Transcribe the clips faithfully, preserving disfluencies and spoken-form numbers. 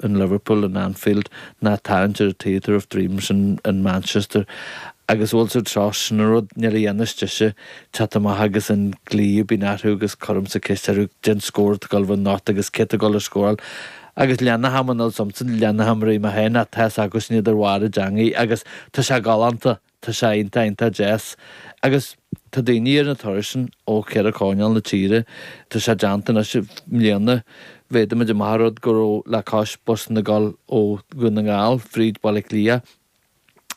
in Liverpool in Anfield ná tarraingt ar Theatre of Dreams in, in Manchester agus bhfuil sa tros sin rud ní dhéanais se teacht amach agus an glí bín aú agus chum sa ceist den scór go náit agus cé go a scóráil. agus lena ham an somson lena hamrí ma héin a te agus ní ar bhhair deangaí agus tá sé galánta tá sé iontach iontach deas agus tá daoine ar na turais ó cheithre coirnéal na tíre tá sé déanta na mbliana bhéidir marrod go raibh le cois bus na gal ó Dhún na nGall fríd Baile Átha Cliath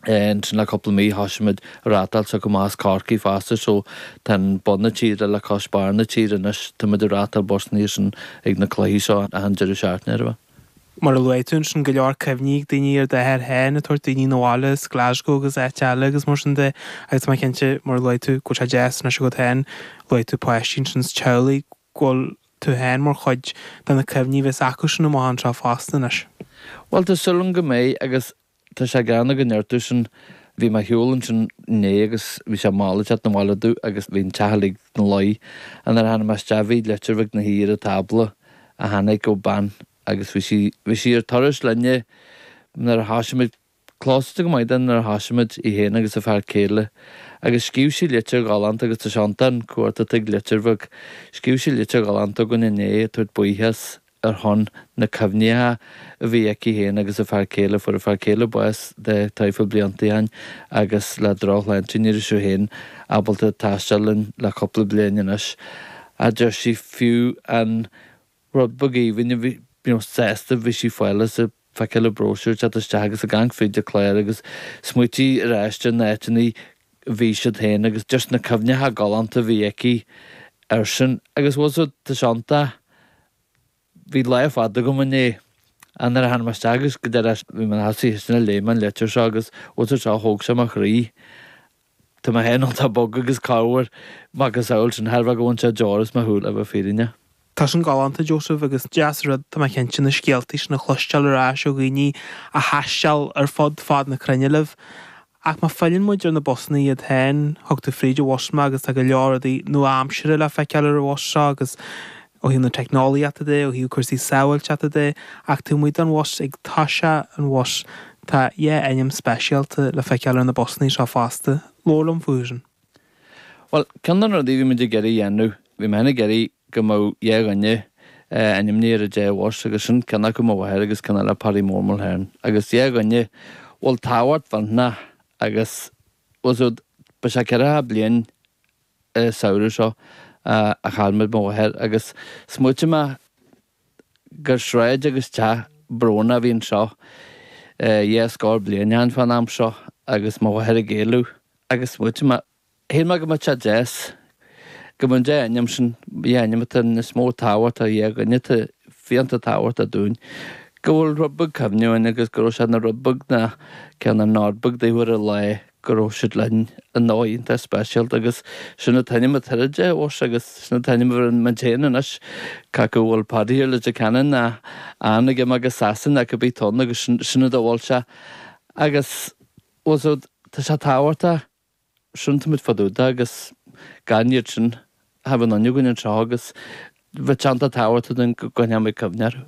sin le cúpla mí thosaigh rátáil sa go más Corcaigh fosta so tá bun na tíre le cois barr na tíre anois tá muid rátáil busanna sin ag na cluichí seo an deireadh seachtaine. Mar a luaigh tú sin go leor cuimhní daoine ar d'athair féin tabhairt daoine na bhaile Glasgow agus áit eile agus mar sin de agus má cinnte mar luaigh tú go sé deas na go féin luaigh tú páistí sin teaghlaigh go bhfuil tú féin mar chuid de na cuimhní bheas acu sin amach anseo fosta anois. Well tá súil agam go mbeidh agus tá sé ganna go neartú sin bhí mé shiúl sin né agus bhí sé mála na bhhaile agus bhín techalig na lei an ar hana bhí leitir na híre tábla a tháinig ó ban agus bhí sí bhí sí ar turas linne nuair a thosaigh close go maith nuair a thosaigh muid í héin agus a fear céile agus scríobh sí litir ghalánta agus tá seantan cuarta ag litir bheag scríobh sí litir ghalánta go inné tabhairt buíochas ar shon na cuimhnithe a bhí aici féin agus a fear céile fuair a fear céile bás de traidhfil blianta ó shin agus le drochshláinte ní raibh sé féin ábalta taisteal linn le cúpla bliain anois a deir sí fiú an rud beag aoibhinn a bhí you know, sásta bhí sí fáil sa feiceáil le bróisiúr teacht isteach agus a gang fríd de cléir agus smaointí ar ais na áiteanna bhí siad féin agus just na cuimhnithe galánta bhí aici ar sin agus was tá seanta bhí lá fada agam inné an ar han agus go deir bhí man hasi na léman leitir seo agus ó seo thóg sé mo chroí. Tá mé féin tá bog agus cabhair agus samhail sin thar go bhfuil sé deoras mo shúil a bheith fírinne. Tá sin galánta Joseph agus deas rud tá cinnte na scéaltaí sin a chloisteáil ar ais ó dhaoine a thaistil ar fud fad na cruinne libh. Ach má fhilleann muid ar na busanna iad féin, thug tú fríd an bhus mé agus tá go leor rudaí nua-aimseartha le feiceáil ar an bhus seo agus ó thaobh na teicneolaíochta de, ó thaobh cúrsaí sábháilteachta de, ach tú amuigh den bhus ag toiseacht an bhus tá dhá ainm speisialta le feiceáil ar na busanna seo fosta. Labhair liom fúthu sin. Well ceann de na rudaí bhí muid ag iarraidh a dhéanamh, bhí mé ag iarraidh go mbeadh dhá dhuine ainmnithe ar an dá bhus agus sin ceann acu mo mháthair agus ceann eile Paddy Mór Mulhern agus dhá dhuine bhfuil tábhacht mhillteanach agus was ba sé ceithre bliain samhradh seo a chaill muid mo mháthair agus smaointigh mé gur sráid agus teach brónach a bhí anseo dhá scór bliain ó shin fán am seo agus mo mháthair ag éalú agus smaointigh mé shíl mé go mbeadh sé deas go mbeadh an dá ainm sin dhá ainm atá níos mó tábhacht a dhá dhuine atá fiánta tábhachtach dúinn go bhfuil rud beag cuimhne againn agus go raibh sé ina rud beag ná ceann an nod beag daofa ar an lá go raibh siad linn i ndóigh iontach speisialta agus sin an t-ainm atá ar an dá bhus agus sin an t-ainm ar an mé anois cé go bhfuil Paddy ar Leitir Ceanainn ná Ann ag imeacht go Sasana go bí ton agus sin a bhfuil sé agus was tá sé tábhachtach sin táimid fadúda agus gan iad sin ha an aniugan an seo agus bheith teanta tábhachtach den go gcoinneoidh cuimhne orthu.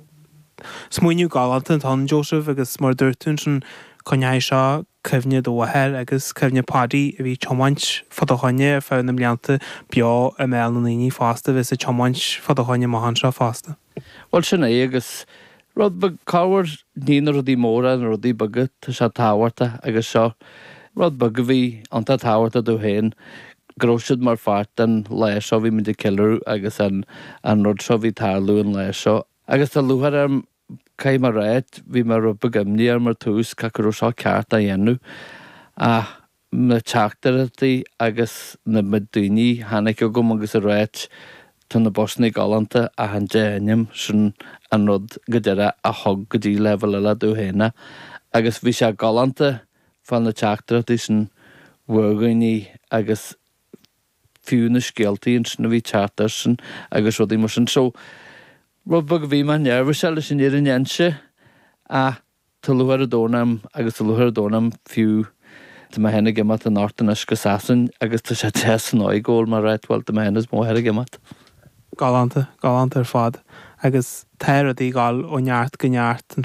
Smaoineamh galánta atá ann Joseph agus mar dúirt tú sin coinneoidh seo cuimhne do mháthair agus cuimhne Paddy a bhí tiomáint fá do choinne ar feadh na mblianta beo i mbéal na ndaoine fosta bhí sa tiomáint fá do choinne amach anseo fosta. Well sin é agus rud beag cabhair ní na rudaí móra na rudaí beaga tá sé tábhachtach agus seo rud beag a bhí iontach tábhachtach domh féin go raibh siad mar pháirt den lá seo bhí muid ag ceiliúradh agus an an rud seo bhí tarlú an lá seo. Agus tá lúcháir orm caithfidh mé a rá bhí mé rud beag imní orm ar tús cé go raibh seo ceart a dhéanamh ach na teachtaireachtaí agus na daoine tháinig agam agus a ráit tá na busanna galánta ach an dá ainm sin an rud go deireadh a thug go dtí leibhéal eile domh féin agus bhí sé galánta fá na teachtaireachtaí sin ó dhaoine agus fiú na scéaltaí sin a bhí teacht air sin agus rudaí mar sin so rud beag bhí mé neirbhíseach leis an fhírinne a inse ach tá lúcháir an domhain orm agus tá lúcháir an domhain orm fiú tá mé féin ag imeacht anocht anois go Sasain agus tá sé deas an dóigh go bhfuil mé right well tá mé féin is mo mháthair ag imeacht. Galánta, galánta ar fad agus tá rudaí ag dul ó neart go neart